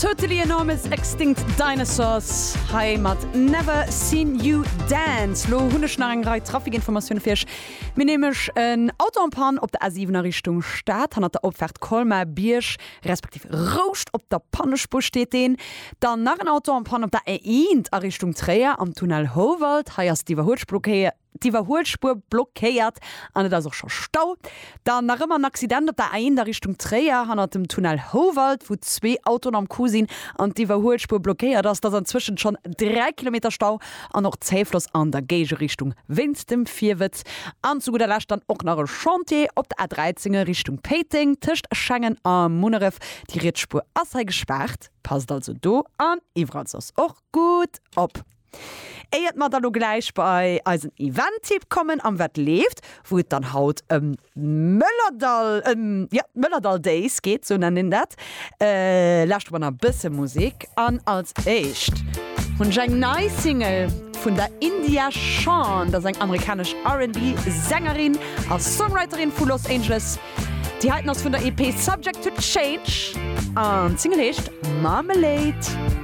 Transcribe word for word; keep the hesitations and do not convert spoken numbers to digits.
Totally Enormous Extinct Dinosaurs hei mat Never Seen You Dance. Lo hunn ech nach eng Rei Trafikinformatioune fir iech. Mir hunn nämlech en Auto en panne op der A siwen a Richtung Stad, hannert der Opfaart Colmar-Bierg, respektiv Rouscht op der Pannespuer steet deen. Dann nach en Auto en panne op der A eent a Richtung Tréier am Tunnel Houwald. Hei ass d'Iwwerhuelspuer blockéiert an et ass och scho Stau. Dann nach ëmmer en Accident op der A eent a Richtung Tréier hannert dem Tunnel Houwald, wou zwee Autoen am Coup sinn an d'Iwwerhuelspuer blockéiert ass. Et ass anzwëschent schonn dräi Kilometer Stau an och Zéifloss an der Géigerichtung wéinst dem Virwëtz. An zu gudder Lescht dann och nach e Chantier op der A dräizéng a Richtung Péiteng tëscht Schengen a Munneref. Déi riets Spuer ass hei gespaart, passt also do an iwwerall soss och gutt op. Éiert mer da lo gläich bei eisen Event-Tipp kommen am Wat leeft, wou et dann haut ëm d'Mëllerdall, ëm, jo, d'Mëllerdall Days geet, sou nennt een dat, lauschtere mer nach e bësse Musek. An als éischt hunn ech eng nei Single vun der India Shawn, dat ass eng amerikanesch R and B Sängerin a Songwriterin vu Los Angeles. Déi heiten ass vun der E P Subject to Change an d'Single heescht Marmalade.